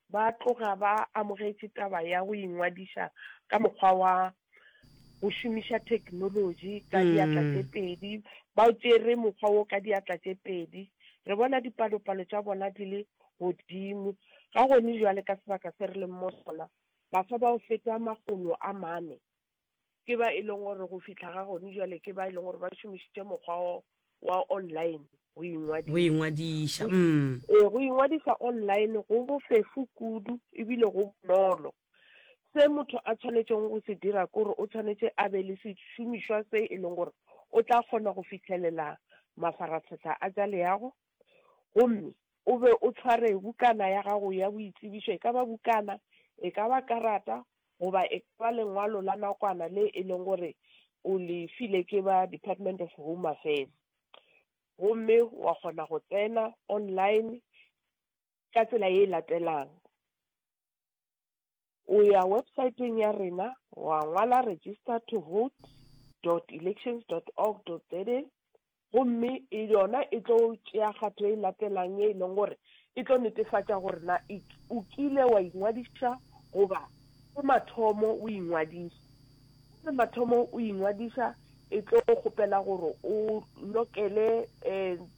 ba tloga ba amogetše taba ya go ingwadiša ka mokgwa wa go šomiša theknolotši ka diatla tše pedi, ba tšere mokgwa wo ka diatla tše pedi. Re bona dipalopalo tša bona di le godimo. Ga gone bjale ka sebaka se re leng mo sona, baswa ba go feta 400 ke ba e leng gore go fihla ga gone bjale ke ba e leng gore ba šomišitše mokgwa wa online go ingwadiša. Go ingwadiša, mm. Ee, go ingwadiša online go bofefo kudu ebile go bonolo. Se motho a tshwanetšego go se dira ke gore o tshwanetše a be le sešomišwa se e leng gore o tla kgona go fihlelela mafarahlahla a tša leago, gomme o be o tshware bukana ya gago ya boitsebišo, e ka ba bukana, e ka ba karata goba e ka ba lengwalo la nakwana le e leng gore o le file ke ba Department of Home Affairs, gomme wa kgona go tsena online ka tsela ye e latelang. O ya websaeteng ya rena wa ngwala register to vote dot elections dot org dot za gomme e yona e tlo tšea kgato e latelang ye e leng gore e tlo netefatša gore na o kile wa ingwadiša goba ke mathomo o ingwadiša. Ke mathomo o ingwadiša e tlo kgopela gore o lokele um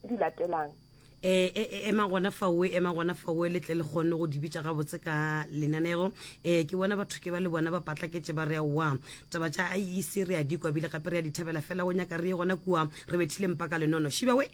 di latelang. E, e, e, ema gona faoe, ema gona faoe, le tle le kgone go di bitša gabotse ka lenanego. E, ke bona batho ke ba le bona ba patlaketše ba re aowa, taba tša IEC re a di kwa bile gape re a di thabela, fela go nyaka re ye gona kua re bethile mpa ka lenono. Šiba we!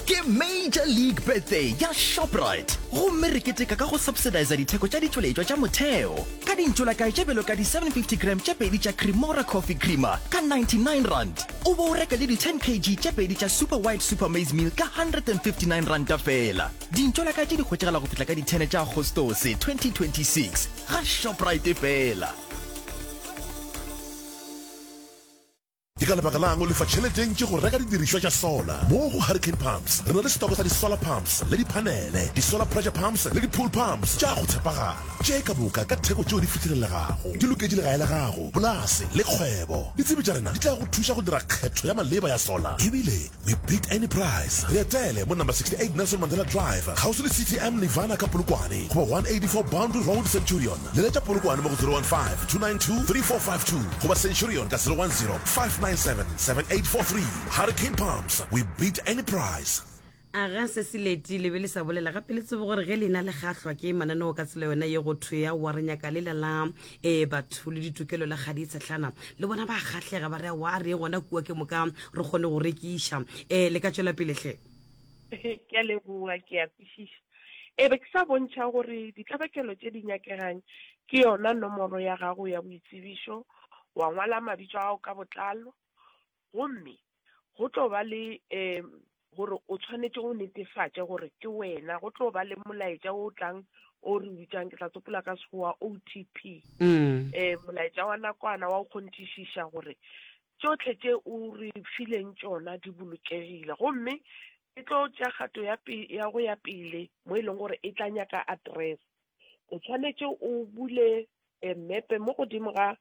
Ke Major League Birthday ya Shoprite gomme re keteka ka go subsidiza ditheko tša ditšweletšwa tša motheo ka dintšolakae tše bjalo ka di 750 gram tše pedi tša Cremora Coffee Creamer ka R99 o bo o reka le di 10 kg tše pedi tša Super White Super Maize Meal ka R159 feela. Dintšolakae tše di hwetšagala go fihla ka di 10 tša Agostose 2026 ga Shoprite feela. Ke ka lebaka la'ng o lefa tšhelete e ntši go reka didirišwa tša solar? Mo go Hurricane Pumps re na le setoko sa di-solar pumps le diphanele, di-solar pressure pumps le di-pool pumps tša go tshepagala, tše ka moka ka theko tšeo di fihlelelegago. Di loketše legae la gago, polase le kgwebo. Ditsebi tša rena di tla go thuša go dira kgetho ya maleba ya solar ebile we beat any price. Re etele mo number 68 Nelson Mandela Drive, kgauswi le CTM Nirvana ka Polokwane goba 184 Boundary Road, Centurion. Leletša Polokwane mo go 015 292 3452 goba Centurion ka 010 597 7843. Hurricane Pumps, we beat any price. A ga se se leti le be le sa bolela gape le tsebe gore ge lena le kgahlwa ke mananeo ka tsela yona ye go thwe aowa re nyaka lela la um batho le ditokelo la kgadi tshehlana le bona ba kgahlega ba re aowa a re ye gona kua ke moka re kgone go rekiša um le ka tšwela pele hle. Ke a leboga, ke a kwešiša. E be ke sa bontšha gore ditlabakelo tše di nyakegang ke yona nomoro ya gago ya boitsebišo, wa ngwala mabitso a gago ka botlalo, gomme go tlo ba le um gore o tshwanetše o netefatše gore ke wena. Go tlo ba le molaetša o tlang o re bitšang, ke tla tsopola ka Sekgowa, OTP, um molaetša wa nakwana wa go kgonthišiša gore tšohle tše o re fileng tšona di bolokegile. Gomme E tlo tšea kgato ya, ya go ya pele mo e leng gore e tla nyaka address. O tshwanetše o bule eh, mmepe mo godimo ga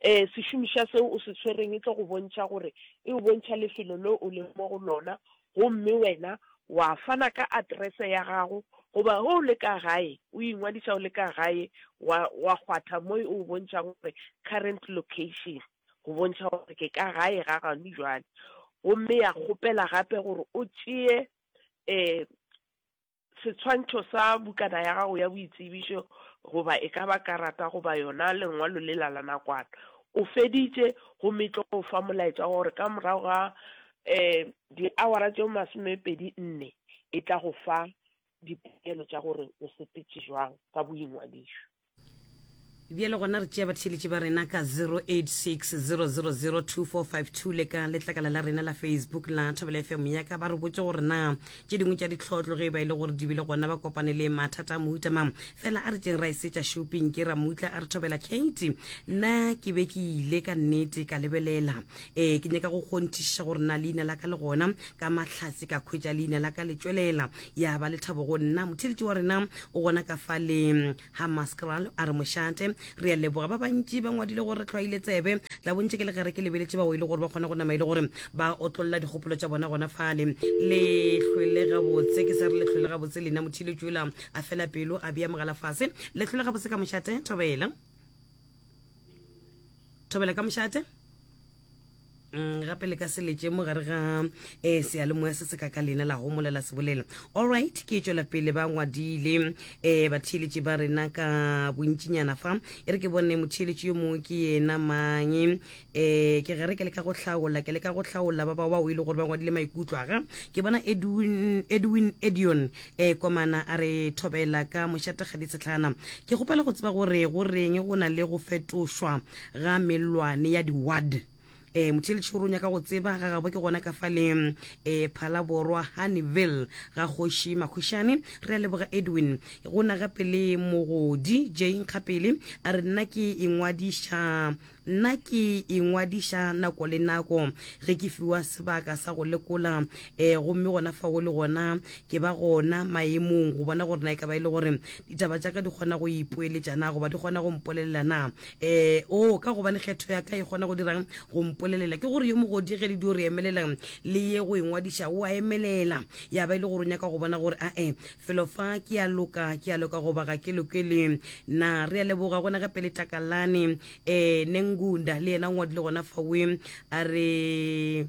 eh, sešomišwa seo o se tshwereng, e tlo go bontšha gore e o bontšha lefelo le o leng mo go lona, gomme wena wa fana ka address ya gago, goba ge o le ka gae o ingwadiša o le ka gae wa, wa kgwatha mo e o bontšhang gore current location. go bontšha gore ke ka gae ga gano jwale. Gomme ya kgopela gape gore o tšee um setshwantšho sa bukana ya gago ya boitsebišo goba e ka ba karata goba yona lengwalo lela la nakwana. O feditše gomme e tlo go fa molaetša wa gore ka morago ga um diawara tše 24 e tla go fa dipokelo tša gore o sepetše jwang ka boingwadišo. Bjale gona re tšea batheeletši ba rena ka 0860002452 le ka letlakala la rena la Facebook la Thobela FM ya ka, ba re botše gore na tše dingwe tša ditlhotlo ge e ba e le gore di bile gona ba kopane le mathata a mohuta mang. Fela a re tšeng ra e setša shopping ke Ramutla a re Thobela Kate, nna ke be ke ile ka nnete ka lebelela ee ke nyaka go kgonthišiša gore na leina la ka le gona ka mahlatse ka khwetša leina la ka le tšwelela ya ba lethabo go nna. Motheeletši wa rena o gona ka fa le Hammanskraal a re mošate. Re a leboga. Ba bantši ba ngwadile gore re hlwaile tsebe. Tla bontše ke le gare ke lebeletše bao e le gore ba kgona go nama e le gore ba otlolla dikgopolo tša bona gona fale. Le hlwele gabotse, ke sa re le hlwele gabotse lena motheeletši yola a fela pelo a bea mogala fase. Le hlwele gabotse ka mošate, thobela. Thobela ka mošate. Mm, gape le ka se letše mo gare ga um seyalemoya se se ka ka lena la homola la se bolela. Allright, ke tšwela pele ba ngwadile um batheeletši ba rena ka bontšinyana fa. E re ke bone motheeletši yo mongwe ke yena mang. Um ke gare ke leka go hlaola, ke leka go hlaola ba bao bao e le gore ba ngwadile maikutlo aga. Ke bona Edwin, Edwin Edion um Komana a re thobela ka mošate Kgaditshetlana. Ke kgopela go tseba gore go reng go na le go fetošwa ga mellwane ya di-ward. E, motheeletši o re o nyaka go tseba ga gabo ke gona ka fa le e, Phalaborwa Honeyville ga kgoši Makhušane. Re a leboga Edwin. Go na gape le Mogodi J Nkgapele a re nna ke ingwadiša nna ke ingwadiša nako le nako ge ke fiwa sebaka sa go lekola e, gomme gona fao le gona ke ba gona maemong go bona gore na e ka ba e le gore ditaba tša ka di kgona go ipoeletša na goba di kgona go mpolelela na. Ee, oo, ka gobane kgetho ya ka e kgona go dirang? Go mpolelela. Ke gore yo mogodi ge le dio re emelela le ye go ingwadiša, o a emelela. Ya ba e le gore o nyaka go bona gore, ae, felo fa ke a loka, ke a loka goba ga ke lokele na. Re a leboga gona gape le Takalane, ee, Nengunda, le yena o ngwadile gona fawe, a re.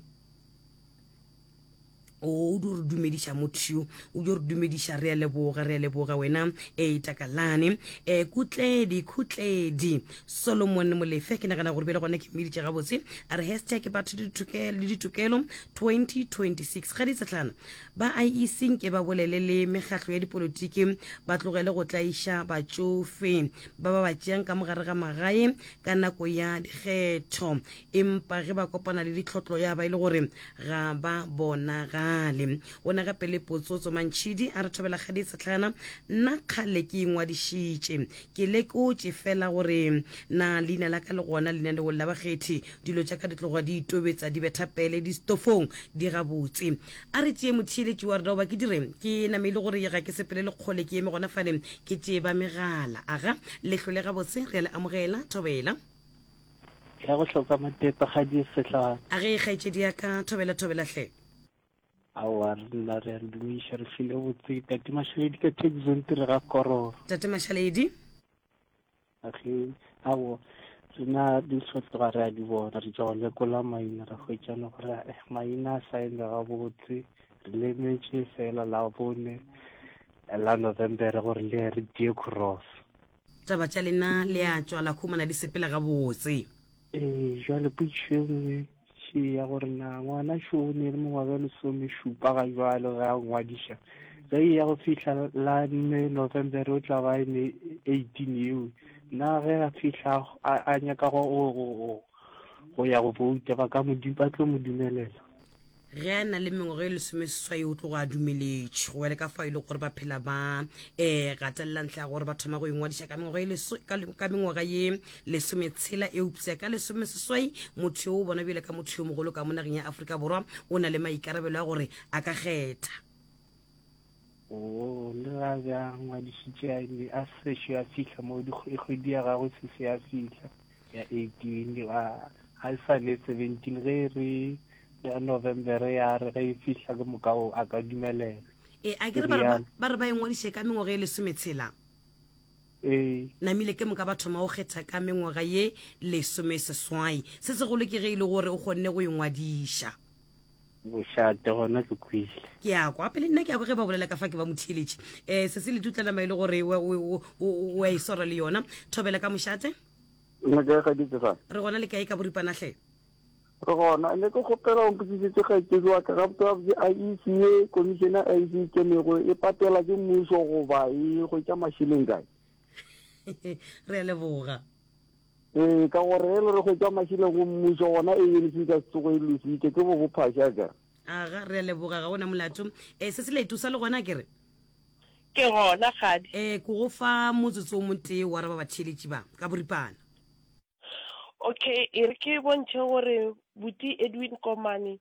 O dio re dumediša motho yo, o dio re dumediša. Re a leboga, re a leboga wena e Takalane. E Kutledi, Khutledi Solomon Molefe, ke nagana gore bjale gona ke mmiditše gabotse. A re hashtag batho le ditokelo 2026. Ga ditsetlana ba IEC nke ba bolele le mekgatlo ya dipolotiki, ba tlogele go tlaiša batšofe ba ba ba tšeang ka mogare ga magae ka nako ya dikgetho. Empa ge ba kopana le ditlhotlo ya ba e le gore ga ba bonagale. O na gape le Potsotso Mantšhidi a re thobela kgadi Setlhana, nna kgale ke ingwadišitše. Ke lekotše fela gore na leina la ka le gona lenaneong la bakgethi. Dilo tša ka di tloga di itobetsa di betha pele distofong di gabotse. A re tšee motheeletši wa rena goba ke dire ke name e le gore ga ke sepele le kgole ke eme gona fale ke tšee ba megala. Aga le hlole gabotse re a le amogela thobela. Ya go hloka matepe ga di sehlana. A ge kgaetšedi ya ka thobela thobela hle. Aowa re nna re a le dumiša re hlile botse Tate Mashaledi ka Texon tire ga Kororo. Tate Mashaledi. A ge aowa rena dihlotlo ga re a di bona re tšwa go lekola maina ra hwetšana gore eh, maina a sa eme gabotse re lemetše fela la bone la November gore le re tie cross. Taba tša lena le a tšwa la humana di sepela gabotse. Ee, jwale potšišo e nngwe še ya gore na ngwana šo o ne le mengwaga e lesomešupa ga jwale ge a ngwadiša, ge e ya go fihla la nne November o tla ba e ne 18 eo, na ge a fihla a, a nyaka go, go, go, go ya go bouta ba ka mo, ba tlo mo dumelela? Ge a na le mengwaga e lesomeseswai o tloga a dumeletšwe go ya le ka fao e le gore ba phela ba um gatelela ntlha ya gore ba thoma go ingwadiša ka mengwaga e ka mengwaga ye lesometshela eupša ka lesomeseswai motho yo o bona bjale ka motho yo mogolo ka mo nageng ya Afrika Borwa o na le maikarabelo a gore a ka kgetha. Oo, le ga be a ngwadišitše a ne a sešo a fihla mo kgwedi ya gagwe se se ya fihla ya 18 a ga e sa le 17 ge re ya November ya re ge e fihla ke moka o a ka dumelela. E a ke re ba re ba ingwadiše ka mengwaga e lesometshela. Ee. Namile ke moka ba thoma go kgetha ka mengwaga ye lesomeseswai. Se segolo ke ge e le gore o kgonne go ingwadiša. Bošate gona ke kwele. Ke a kwa pele nna ke a kwa ge ba bolela ka fa ke ba motheeletši. Um se se le tutla nama e le gore o a e swara le yona. Thobela ka mošate. Nna ke ga ditse fa. Re gona le kae ka boripana hle? Re gona ne ke kgopela o mpotsisetse kgaetšedi wa ka gabotse gabotse IEC ye commission ya IEC e kenego e patela ke mmušo goba e hwetša mašeleng kae? Re a leboga. Ee, ka gore ge le re hwetša mašeleng go mmušo gona ANC e ka se tsoge e lositše ke bo bophaša ka. Aga, re a leboga ga gona molato. E, se se leto sa le gona ke re. Ke gona, kgadi. E, ke go fa motsotso o motee wa raba batheeletši ba ka boripana. Okay, e re ke bontšhe gore buti Edwin Komane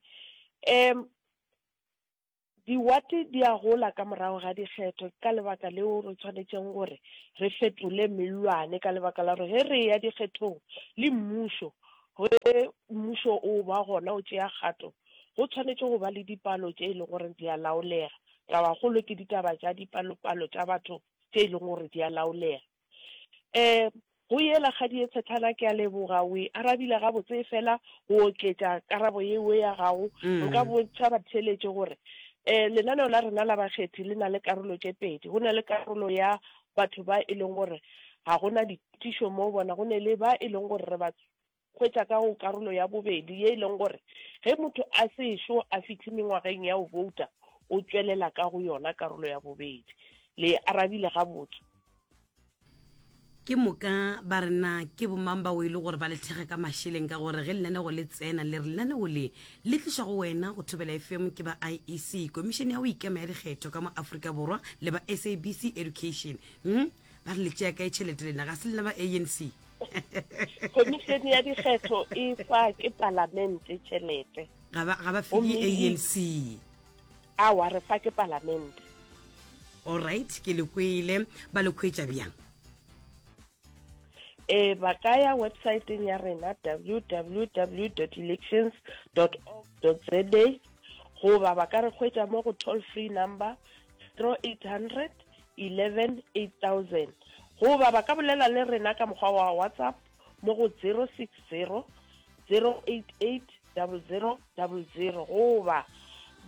um. Diwate di a gola ka morago ga dikgetho, ke ka lebaka leo re tshwanetšeng gore re fetole mellwane ka lebaka la gore ge re eya dikgethong le mmušo, ge mmušo o ba gona o tšea kgato, go tshwanetše go ba le dipalo tše e leng gore di a laolega. Tabakgolo ke ditaba tša dipalopalo tša batho tše e leng gore di a laolega. Um go yela kgadi ye tshetlana ke a leboga o e arabile gabotse efela go oketša karabo yeo ya gago nka bontšha batheeletši gore um lenaneo la rena la bakgethi le na le karolo tše pedi go na le karolo ya batho ba e leng gore ga go na ditišo mo bona go ne le ba e leng gore re ba hwetša ka go karolo ya bobedi ye e leng gore ge motho a sešo a fihle mengwageng ya go bouta o tšwelela ka go yona karolo ya bobedi. Le e arabile gabotse. Ke moka ba re na ke bomang bao e le gore ba le thekga ka mašeleng ka gore ge lenanego le tsena le re lenanego le le tlišwa go wena go Thobela FM ke ba IEC, Komišene ya go Ikema ya Dikgetho ka mo Afrika Borwa le ba SABC Education. Hm? Ba re le tšea kae tšhelete lena ga se lena ba ANC? Khomišene ya dikgetho e fa ke palamente tšhelete. Ga ba ga ba fe ke ANC. Awa re fa ke palamente. All right, ke le kwele ba le khwetša bjang? E ba ka ya websiteng ya rena www.elections.org.za goba ba ka re hwetša mo go toll free number 0800 11 8000 goba ba ka bolela le rena ka mokgwa wa WhatsApp mo go 060 088 0000 goba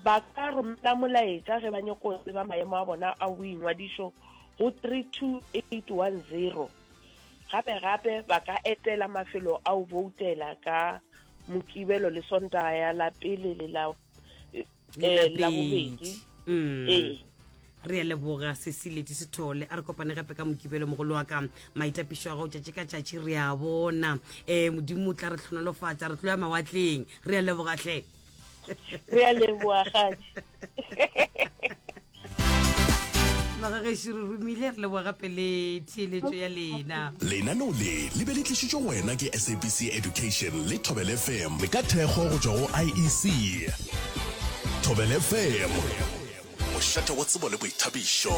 ba ka romela molaetša ge ba nyoko tseba maemo a bona a boingwadišo go 32810. Gape gape ba ka etela mafelo a go boutela ka Mokibelo le Sontaga ya la pele le la eh, la bobedi mm. ee re a leboga sesileti sethole a re kopane gape ka mokibelo mogolo wa ka maitapišo a gago tšatši ka tšatši re a bona um modimo o tla re tlhonolofatša re tlo ya mawatleng re a leboga hle re a leboga gadi magagešo re romile re leboga gape le theeletšo ya lena Lenaneo le le be le tlišitšwe go wena ke SABC Education le Thobela FM ka thekgo go tšwa go IEC. Thobela FM, mošate wa tsebo le boithabišo.